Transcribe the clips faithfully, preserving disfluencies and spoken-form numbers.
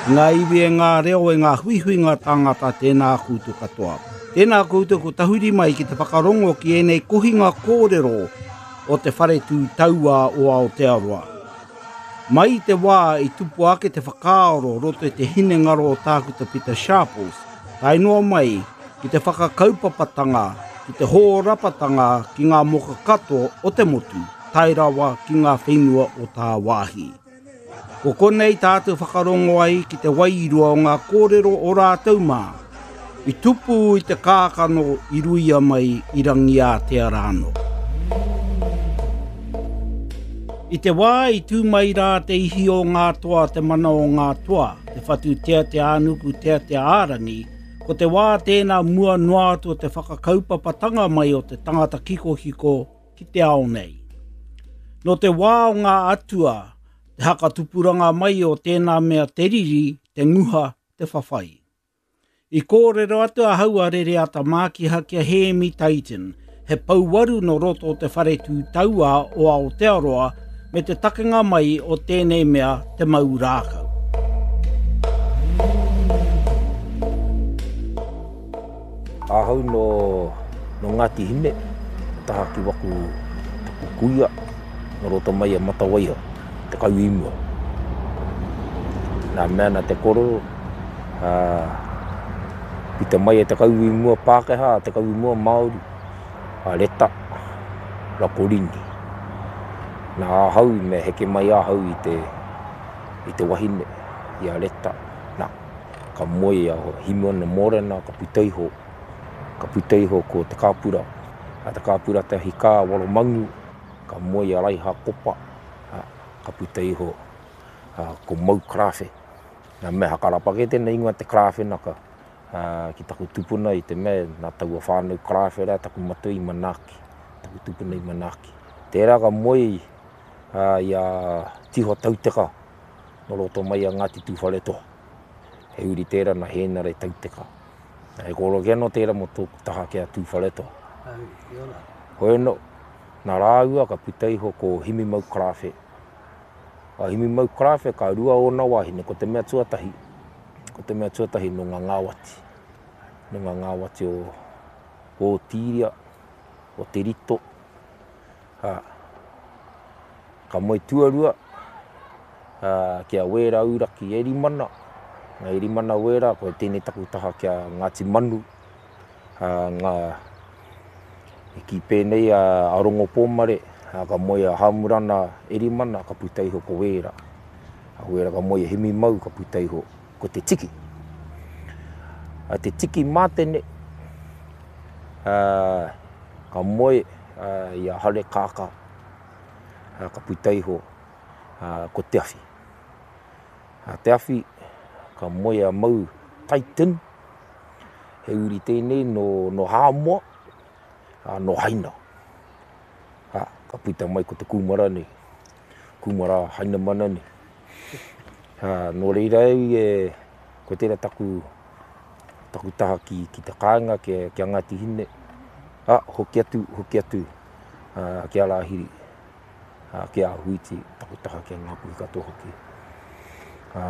Ngā iwi e ngā reo e ngā huihuinga tāngata tēnā koutou katoa. Tēnā koutou ko tahuri mai ki te whakarongo ki ēnei kohinga kōrero o te whare tū taua o Aotearoa. Mai i te wā i tupu ake te whakaaro roto i te hinengaro o Tākuta Pita Sharples, tae noa mai ki te whakakaupapatanga, ki te hōrapatanga ki ngā moka katoa o te motu, tae rawa ki ngā whenua o tāwāhi. Ko konei tātou whakarongo ai ki te wairua o ngā kōrero o rātou mā. I tupu i te kākano i ruia mai i Rangiātea rānō. I te wā i tū mai rā te ihi o ngā toa, te mana o ngā toa, te whatu tea te ānuku tea te ārangi, ko te wā tēnā mua noa atu o te whakakaupapatanga mai o te tangata kikokiko ki te ao nei. Nō te wā o ngā atua, te hakatupuranga mai o tēnā mea te riri, te nguha, te whawhai. I kōrero atu ahau a Rereata Mākiha ki a Hēmi Titan, he pouwaru no roto o te whare tū taua o Aotearoa me te takenga mai o tēnei mea te mau rākau. Ahau no, no Ngāti Hine, taha ki waku taku kuia, no roto mai a Matawaiha, te kau i mua. Nā mea na te kororo, uh, puta mai e te kau i mua Pākehā, te kau i mua Māori, a Reta, Rakorini. Nā ahau, me heke mai ahau i te, i te wahine, i a Reta. Nā, ka moe a Himiona Mōrena, ka puta iho, ka puta iho ko Te Kāpura. A Te Kāpura te hika Waromangu, ka moe a Raiha Kopa, a, ka puta iho a, ko Mau Krawhe. Nā mea hakarapa ke tēnei ingoa te Krawhe naka, a, ki taku tupuna i te mea nā taua whānau Krawhe rā taku matua i manaaki, taku tupuna i manaaki. Tērā ka moe a, i a Tiho Tauteka, no roto mai a Ngāti Tūwharetoa. He uri tērā na Hēnare Tauteka. He kōrero ki anō tērā mō tōku taha ki a Tūwharetoa. Hoi anō, nā rāua ka puta iho ko Himimau Krawhe. A Himimau Krawhe ka rua ōna wāhine, ko te mea tuatahi, ko te mea tuatahi nō ngā ngāwati. Nō ngā ngāwati o, o Tīria, o Te Rito. Ha, ka moe tuarua, ha, ki a Wēra Uraki Erimana. Ngā Erimana Wēra, ko tēnei taku taha ki a Ngāti Manu. Ha, ngā, i ki pēnei a, a Rongo Pōmare, ha, ka moe a Hamurana Erimana, ka puta iho ko Wēra. A Wēra ka moe a Himimau, ka puta iho ko Te Tiki. A Te Tiki Mātene, a, ka moe a, i a Hare Kākā, a, ka puta iho a, ko Te Awhi. A Te Awhi, ka moe a Mau Titan, he uri tēnei no, no Hāmoa, a, no Haina. A, ka puta mai ko te kūmara nei, kūmara Hainamana nei. A, nō reira au e, ko tērā taku, taku taha ki, ki te kāinga, ki, ki a Ngāti Hine. A, hoki atu, hoki atu a, ki a Rāhiri, a, ki a Huiti, taku taha ki a Ngāpuhi katoa hoki. A,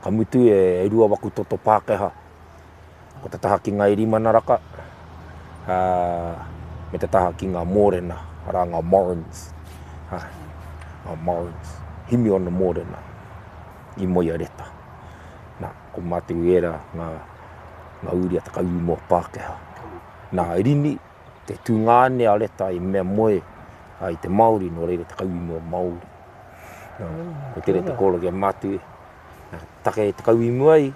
ka mutu e, e rua waku toto Pākehā. Ko te taha ki ngā Erimana raka, a, me te taha ki ngā Mōrena, arā ngā Morins. A, ngā Morins. Himiona Mōrena, i moe a Reta. Nā, ko mātou ērā ngā, ngā uri a te kauimoa Pākehā. Nā, Rini, te tūngāne a Reta i mea moe a, i te Māori, nō reira te kauimoa Māori. Nā, ko tere te kōrero ki a mātou, nā, take te kauimoa i,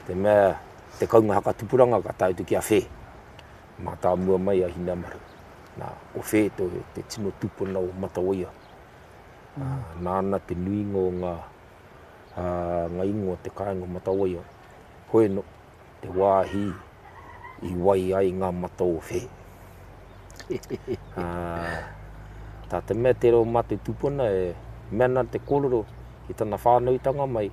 te mea te kaunga hakatupuranga ka tae atu ki a Whē. Mātāmua mai a Hinamaru. Nā, ko Whē tō, te tino tupuna o Matawaia. Mm. Uh, nāna te nuinga o ngā, uh, ngā ingoa te kāinga o Matawaia. Hoi no, te wāhi i wai ai ngā mata o Whē. Uh, tā te mea te reo mātou tupuna e mea nā te kōrero i tana whānautanga mai,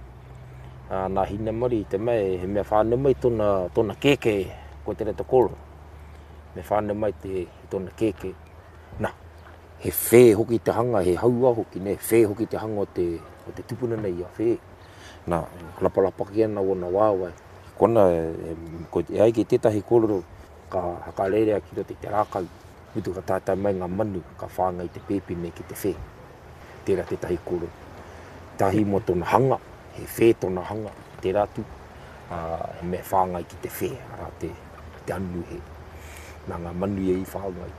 uh, nā Hinamari i te mea he mea whānau mai tōna, tōna kēkē, ko te te kōrero. Me whānau mai te, tōna kēkē. Nā, he whē hoki te hanga, he haua hoki, ne, whē hoki te hanga o te, o te tupuna nei a Whē. Nā, lapalapa ki ana ona waewae. Kona, e, ko, e ai ki tētahi kōrero, ka hakarerea ki roto i te rākau, mutu ka taetae mai ngā manu, ka whāngai te pēpi nei ki te whē. Tērā tētahi kōrero. Tahi mō tōna hanga, he whē tōna hanga, tērā atu, ā, he mea whāngai ki te whē, arā te, te anuhe. Nā ngā manu ia i whāngai.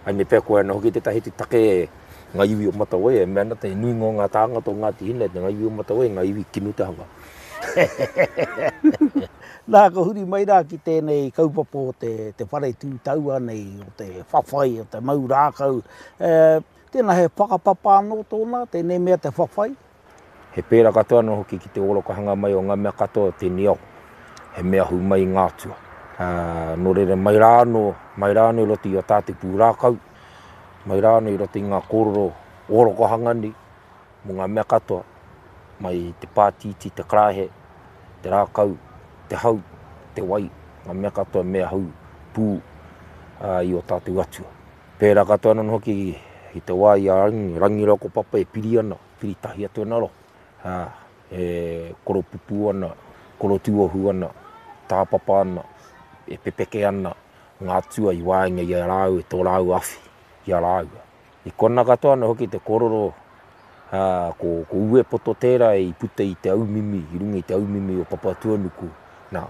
Ai me pea koe ana hoki tētahi atu take e ngā iwi o Matawai, e mea ana te nuinga o ngā tāngata o Ngāti Hine, te ngā iwi o Matawai, ngā iwi kino te hanga. Nā, ka huri mai rā ki tēnei kaupapa o te, te whare tū taua nei, o te whawhai, o te mau rākau. E, tēnā he whakapapa anō tōna, tēnei mea te whawhai? He pērā katoa anō hoki ki te orokohanga mai o ngā mea katoa o tēnei ao. He mea ahu mai i ngā atua. Ā, nō reira, mai rā anō, mai rā anō i roto i ō tātou pūrākau, mai rā anō i roto i ngā kōrero orokohanga nei, mō ngā mea katoa, mai i te pātītī, te karaehe, te rākau, te hau, te wai, ngā mea katoa mea hau pū ā, i ō tātou atua. Pērā katoa anō hoki i te wā i a Rangi, Rangi rāua ko Papa e piri ana, piri tahi atu ana roa. Ā, e koropupū ana, korotūohu ana, tāpapa ana, e pepeke ana ngā atua i waenga i a rāua, i tō rāua awhi i a rāua. I kona katoa ana hoki te kōrero, ā, ko, ko Uepoto tērā i puta i te aumimi, i runga i te aumimi o Papatuanuku, nā,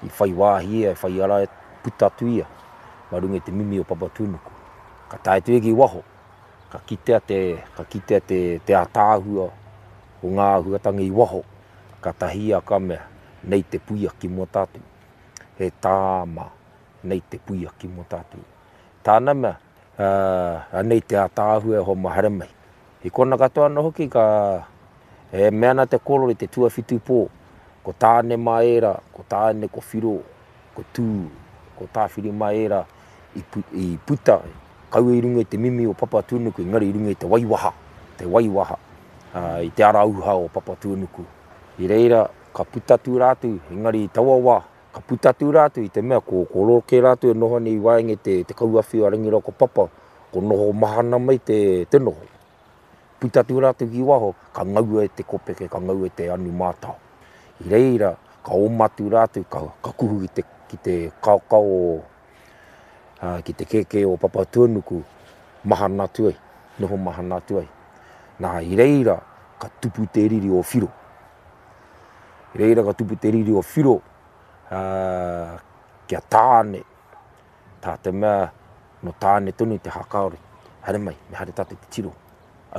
i whai wāhi ia, i whai ara e puta atu ia, mā runga i te mimi o Papatuanuku. Ka tae atu ia ki waho, ka kitea te, ka kitea te, te ātaahua o ngā āhuatanga i waho, ka tahi ia ka mea, nei te puia ki mua tātou. He tāma, nei te puia ki mua tātou. Tāna mea, uh, anei te ātaahua e hoa mā haere mai. I kona katoa anō hoki ka, e mea ana te kōrero i te tuawhitu pō, ko Tāne mā ērā, ko Tāne, ko Whiro, ko Tū, ko Tāwhiri mā ērā i, pu, i puta, kaua i runga i te mimi o Papatūānuku, engari i runga i te waiwaha, te waiwaha, uh, i te ara uha o Papatūānuku. I reira, ka puta atu rātou, engari i taua wā, ka puta atu rātou i te mea ko, ko roke rātou e noho nei i waenga i te, te kauawhi o Rangi rāua ko Papa, ko noho mahana mai te, te noho. Puta atu rātou ki waho, ka ngaua e te kopeke, ka ngaua e te anu mātao. I reira, ka oma atu rātou, ka, ka kuhu ki te, ki te kaokao o, uh, ki te kēkē o Papatūānuku, mahana atu ai, noho mahana atu ai. Nā, i reira, ka tupu te riri o Whiro. I reira ka tupu te riri o Whiro, uh, kia Tāne, tā te mea, no Tāne tonu te hakaore. Haere mai, me haere tātou te tiro.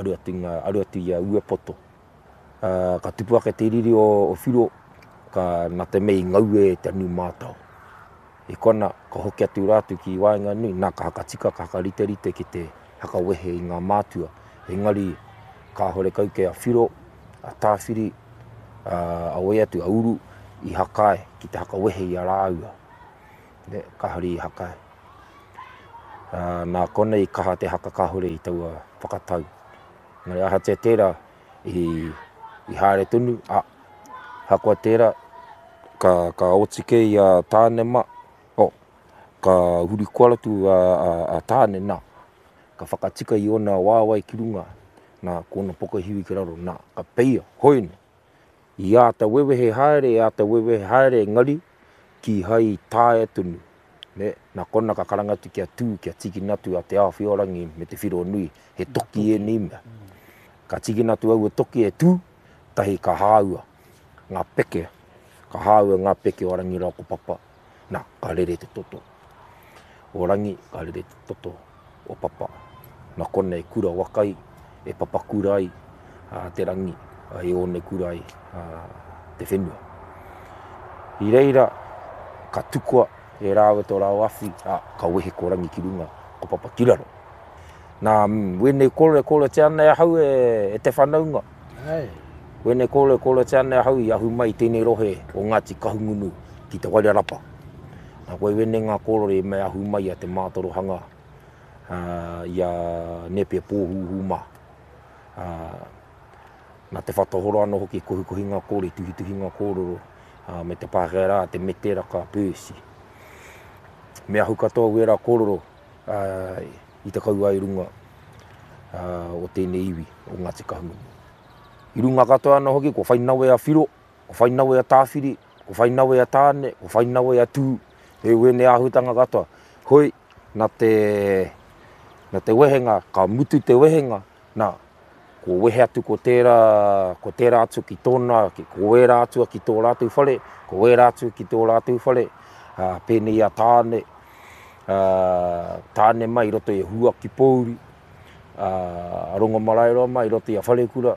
Aru atu, ngā, aru atu i a Uepoto. Uh, ka tupu ake te riri o, o Whiro, ka nā te mea i ngaue e te anu mātao. I kona, ka hoki atu rātou ki waenganui, nā ka hakatika, ka hakariterite ki te hakawehe i ngā mātua. Engari, kāhore kau kei a Whiro, a Tāwhiri, a, a wai atu, a Uru, i hakae ki te hakawehe i a rāua. Ne, kāhore i hakae. Uh, nā konei kaha te haka kāhore i taua whakatau. Engari ahatia tērā, i, i haere tonu, a, hakoa tērā, ka, ka oti kē i a Tāne mā, oh, ka huri koara atu a, a, a Tāne nā, ka whakatika i ōna waewae ki runga, nā, ko ōna pokohiwi ki raro, nā, ka peia, hoina. I āta wewehe haere, i āta wewehe haere, engari, kīhai i taea tonu. Ne, nā kona ka karanga atu kia tū, kia tīkina atu a Te Āwhiorangi me Te Whironui, he toki ēnei mea. Ka tīkina atu aua toki e tū, tahi ka hāua ngā peke, ka hāua ngā peke o Rangi rāua ko Papa, nā, ka rere te toto o Rangi, ka rere te toto o Papa. Nā konei kura waka ai, e papakura ai a, te rangi, a, e onekura ai a, te whenua. I reira, ka tukua e rāua tō rāua awhi, a, ka wehe ko Rangi ki runga, ko Papa ki raro. Nā, wēnei kōrero e kōrerotia ana e ahau e, e te whanaunga. Ai. Wēnei kōrero e kōrerotia ana e ahau i ahu mai i tēnei rohe o Ngāti Kahungunu ki Te Wairarapa. Nā, koe wēnei ngā kōrero i mea ahu mai a te mātorohanga uh, i a Nepia Pōhūhū mā. Uh, nā te whatahoro anō hoki kohikohi ngā kōrero, i tuhituhi ngā kōrero, uh, me te Pākehā rā, te Meteraka Percy. Me ahu katoa wērā kōrero uh, i te kauae runga uh, o tēnei iwi o Ngāti Kahungunu. I runga katoa ana hoki, ko whai nawe a Whiro, ko whai nawe a Tāwhiri, ko whai nawe a Tāne, ko whai nawe a Tū, e wēnei āhutanga katoa. Hoi, na te, na te wehenga, ka mutu te wehenga, na, ko wehe atu ko tērā, ko tērā atu ki tōna, ki, ko wērā atua ki tō rātou whare, ko wērā atu ki tō rātou whare, ā, pēnei a Tāne, ā, Tāne mai i roto i a Huaki Pōuri, ā, a Rongomaraeroa mai i roto i a Wharekura,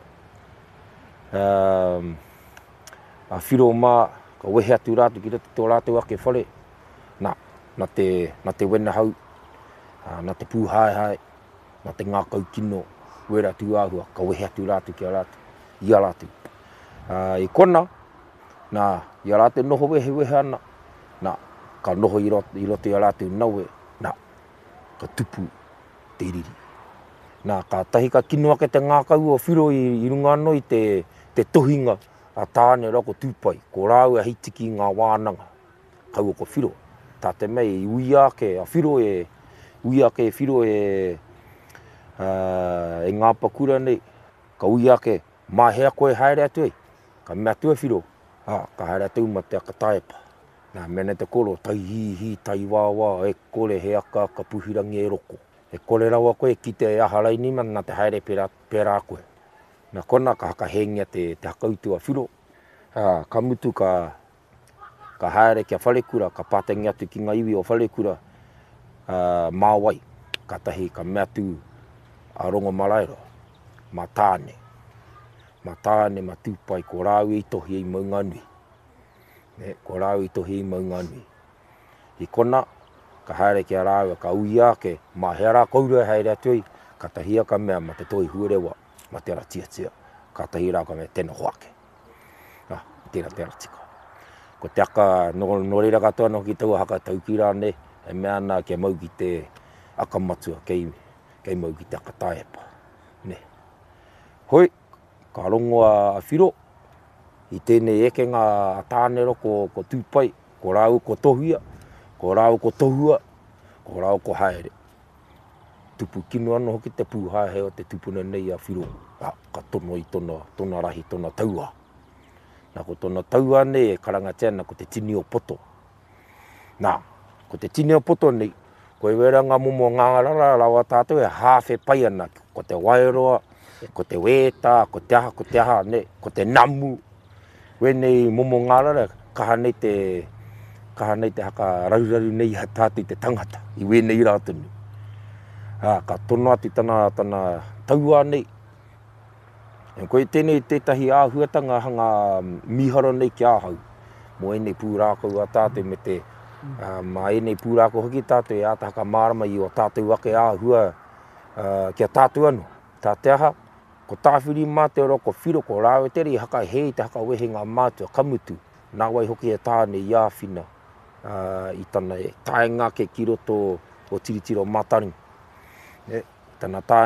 ā, a Whiro mā, ka wehe atu rātou ki roto i tō rātou ake whare, nā, nā te, nā te wenahau, ā, nā te pūhaehae, nā te ngākau kino, wera tūāhua, ka wehe atu rātou ki a rātou, i a rātou. Ā, i kona, nā, i a rātou noho wehewehe ana, nā, ka noho i roto, i roto i a rātou nawe, nā, ka tupu te riri. Nā, kātahi ka kino ake te ngākau o Whiro i, i runga anō i te, te tohinga a Tāne rā ko Tūpai, ko rāua hei tiki i ngā wānanga, kaua ko Whiro. Tā te mea i uia ake a Whiro e, uia ake e Whiro e, e ngā pakura nei, ka uia ake, mā hea koe haere atu ai? Ka mea atu e Whiro, ā, ka haere atu ma te aka taepa. Nā, mea nei te koro, tai hīhī, tai wāwā, e kore he aka aka puhirangi e roko. E kore rawa koe kite e aha raini ma nā te haere pērā, pērā koe. Nā kona ka hakahēngia te, te hakautu a Whiro, ā, ka mutu ka, ka haere kia Wharekura, ka pātengi atu ki ngā iwi o Wharekura, ā, mā wai, kātahi ka mea atu a Rongomaraeroa, mā Tāne, mā Tāne, mā Tūpai, ko rāua i tohi i Maunganui. Ne, ko rāua i tohi i Maunganui. I kona, ka haere ki a rāua, ka uia ake, mā hea rā koura e haere atu ai, kātahi ia ka mea, mā te toi huarewa, mā te ara tiatia, kātahi rā ka mea, tēnā hoake. Ah, tērā te ara tika. Ko te aka, nō, nō reira katoa anō ki taua haka taukī rānei, e mea ana kia mau ki te aka matua, kei, kei mau ki te aka taepa. Ne. Hoi, ka rongo a Whiro i tēnei ekenga a Tānero ko, ko Tūpai, ko rāua ko Tohuia, ko rāua ko Tohua, ko rāua ko Haere. Tupu kino anō hoki te pūhaehae o te tupuna nei a Whiro, a, ka tono i tona, tona rahi, tona tauā. Nā, ko tona tauā nei e karangatia ana ko te tini o poto. Nā, ko te tini o poto nei, ko e wera ngā momo ngārara rawa tātou e hāwhe pai ana, ko te waeroa, ko te wētā, ko te aha, ko te aha, ne, ko te namu. Wēnei momo ngārara, kaha nei te, kaha nei te haka raruraru nei a tātou i te tangata, i wēnei rā tonu. Ā, ka tono atu tana, tana tauā nei. E koe tēnei tētahi āhuatanga hanga mīharo nei ki ahau, mō ēnei pūrākau a tātou me te, ā, mā ēnei pūrākau hoki tātou e āta whakamārama i o tātou ake āhua ā, ki a tātou anō. Tā te aha, ko Tāwhirimātea ko Whiro, ko rāua tērā i hakahē i te hakawehe ngā mātua, ka mutu, nā wai hoki e Tāne i āwhina ā, i tana taenga ake ki roto o Tiritiro Mātaringa. E, tana taenga